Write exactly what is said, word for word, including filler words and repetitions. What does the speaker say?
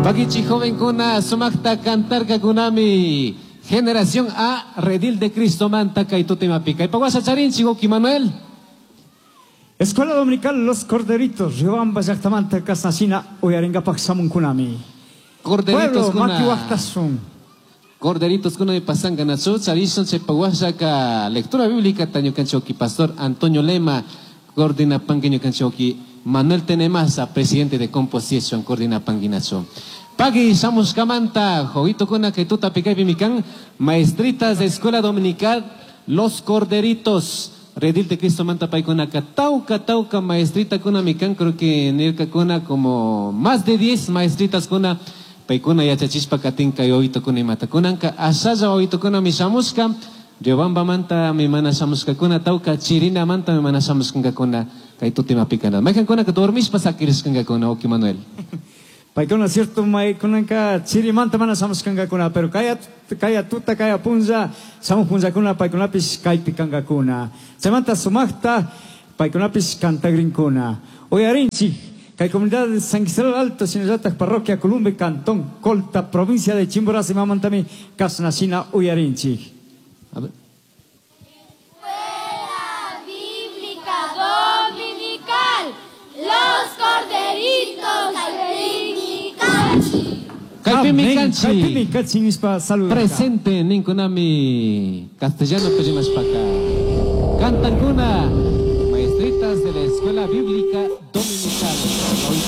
Pakichi jovencuna sumakta cantarkakunami Generación A Redil de Cristo manta kay tutimapi. Kay pawasa charinchi Oki Manuel. Escuela Dominical Los Corderitos, Riobamba llaqtamanta kasnashina uyarinkapak shamunkunami. Corderitos Pueblo, kuna. makiwaqtasun. Corderitos kuna pasanka nachu charishun chay pawasaka lectura bíblica tañukanchi Oki Pastor Antonio Lema coordina panguiñukanchi Manuel Tenemasa presidente de Composition coordina panguinachu. Pagui shamushkamanta jovito kuna kay tuta pikaypi mikan maestritas de Escuela Dominical Los Corderitos Redil de Cristo manta paykunaka tauka tauka maestrita kuna mikan creo que nirka kuna como más de diez maestritas kuna paykuna yachachishpa katinka wawito kuna imata kunanka ashalla wawito kuna mi shamushka Riobamba manta mi mana shamushkakuna tauka chirina manta mi mana shamushkankakuna kay tutimapikana maykankuna dormishpa sakirishkankakuna Oki Manuel. Paykuna cierto maykunanka chirimanta mana shamushkankakuna pero kaya kaya tuta kaya punlla shamuj punllakuna paykunapish kaypi kankakuna chaymanta sumakta paykunapish cantagrinkuna uyarinchik kay comunidad de San Isidro Alto shinallatak parroquia Columbe cantón Colta provincia de Chimborazo imamantami kasnashina uyarinchik. A ver. Escuela Bíblica Dominical, Los Corderitos Kaypimi Kaypimi Amén. kanchik. Kaypimi kanchik nishpa saludarka. Presente ninkunami castellano rimashpaka. Cantankuna maestritas de la Escuela Bíblica Dominical.